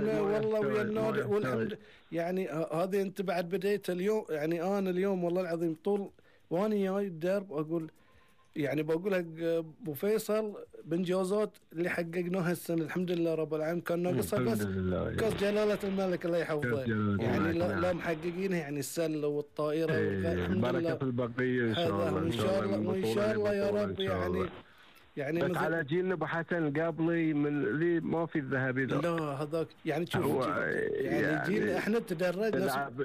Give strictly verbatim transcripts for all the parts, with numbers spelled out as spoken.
ويانا والله ويا النادي والحمد يعني هذه انت بعد بديت اليوم يعني انا اليوم والله العظيم طول وانا جاي الدرب اقول يعني بقول لك ابو فيصل بانجازات اللي حققناها السنه الحمد لله رب العالمين كان ناقصها بس كاس جلاله الملك الله يحفظه يعني لا, لا محققينها يعني السله والطائره ايه الحمد لله في البقيه ان شاء الله وان شاء الله وان شاء الله يا رب يعني يعني بس على جيلنا ابو حسن قبلي من اللي ما في الذهبي لا هذاك يعني شوف يعني, يعني جيلنا احنا تدرجنا تلعب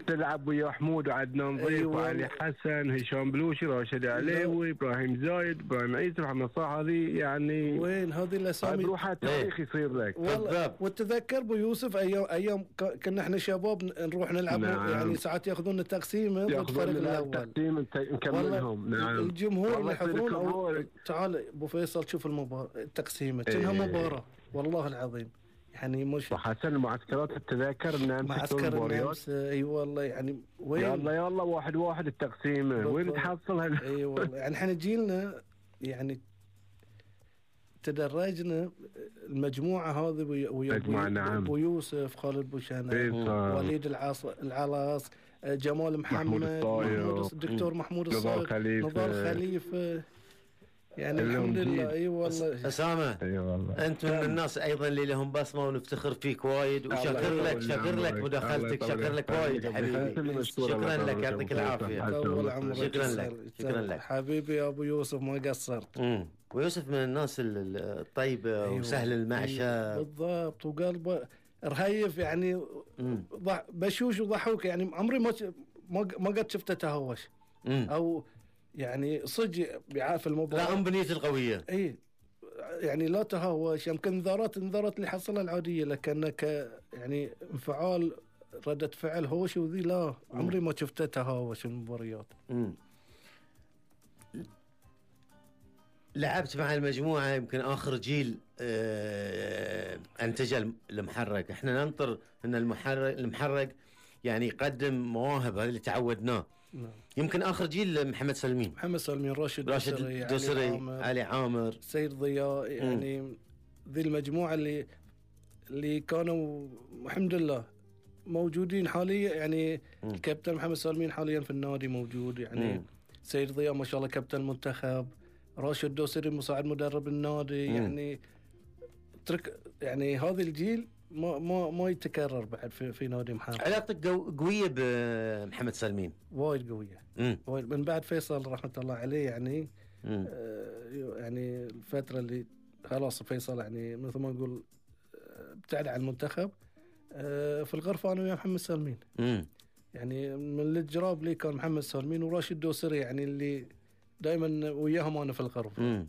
تلعب ويا حمود وعدنان ضيف أيوة وعلي حسن هشام بلوشي راشد عليوي ابراهيم زايد ابراهيم عيسى محمد صلاح هذه يعني وين هذه الاسامي بروحها تاريخ يصير لك والله وتذكر ابو يوسف ايام ايام كنا احنا شباب نروح نلعب نعم. يعني ساعات ياخذون تقسيمه ضد الفريق الاول تقسيم نكملهم نعم الجمهور اللي يحضرون تعال ابو فيصل شوف المباراة التقسيمة كأنها مباراة والله العظيم يعني مش وحسن معسكرات التذاكر النمس معسكر النمس اي والله يعني وين يلا يلا واحد واحد التقسيمة وين تحصل اي والله يعني احنا جيلنا يعني تدرجنا المجموعة هذه ويا نعم. ابو يوسف خالد بوشانة وليد العاص العلاص جمال محمد الدكتور محمود الصايغ نضال خليفة يعني الحمد لله اي أيوة والله اسامه اي أيوة والله انت من الناس ايضا اللي لهم بصمه ونفتخر فيك وايد وشكر لك شكر لك مداخلتك شكر لك وايد حبيبي شكرا لك يعطيك العافيه شكرا لك شكرا لك حبيبي يا ابو يوسف ما قصرت امم ويوسف من الناس الطيبه أيوة وسهل المعشى بالضبط وقلبه رهيف يعني بشوش وضحوك يعني عمري ما ما قد شفته تهوش او يعني صدق بيعرف المباراة لا بنيته القوية اي يعني لا تهاوش يمكن انذارات انذارات اللي حصلها العادية لكنك يعني انفعال ردة فعل هوش وذي لا عمري ما شفته تهاوش المباريات. امم لعبت مع المجموعة يمكن آخر جيل اه انتج المحرق احنا ننطر ان المحرق المحرق يعني يقدم مواهب هذا اللي تعودناه نعم. يمكن آخر جيل محمد سلمين محمد سلمين راشد راشد دوسري علي عامر, علي عامر سيد ضياء يعني ذي المجموعة اللي اللي كانوا الحمد لله موجودين حاليا يعني م. الكابتن محمد سلمين حاليا في النادي موجود يعني م. سيد ضياء ما شاء الله كابتن المنتخب راشد دوسري مساعد مدرب النادي م. يعني ترك يعني هذا الجيل ما ما ما يتكرر بعد في في نادي محمد. علاقتك قويه بمحمد سلمين وايد قويه وايد من بعد فيصل رحمه الله عليه يعني آه يعني الفتره اللي خلاص فيصل يعني مثل ما نقول ابتعد عن المنتخب آه في الغرفه انا ويا محمد سلمين مم. يعني من الجراب لي كان محمد سلمين وراشد دوسري يعني اللي دائما وياهم انا في الغرفه. امم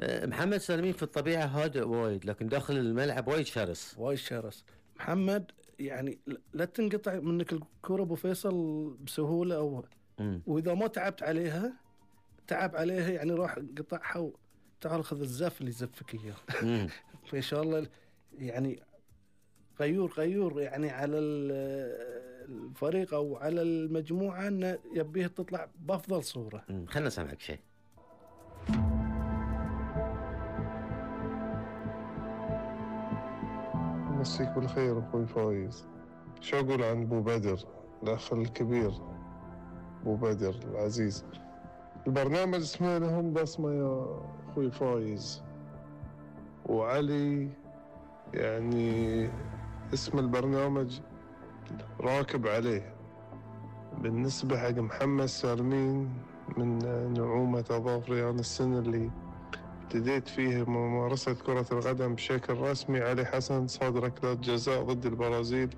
محمد سلمين في الطبيعه هادئ وايد لكن داخل الملعب وايد شرس وايد شرس. محمد يعني لا تنقطع منك الكره ابو فيصل بسهوله او مم. واذا ما تعبت عليها تعب عليها يعني راح قطعها وتعال خذ الزف اللي يزفك اياه. فان شاء الله يعني غيور غيور يعني على الفريق او على المجموعه انه يبيه تطلع بافضل صوره. خلنا نسمعك شيء. مسيك بالخير اخوي فايز. شو اقول عن ابو بدر الاخ الكبير ابو بدر العزيز. البرنامج اسمه لهم بصمه يا اخوي فايز وعلي يعني اسم البرنامج راكب عليه. بالنسبة حق محمد سالمين من نعومة أظافري أنا السنة اللي ابتديت فيه ممارسة كرة القدم بشكل رسمي علي حسن صاد ركلات جزاء ضد البرازيل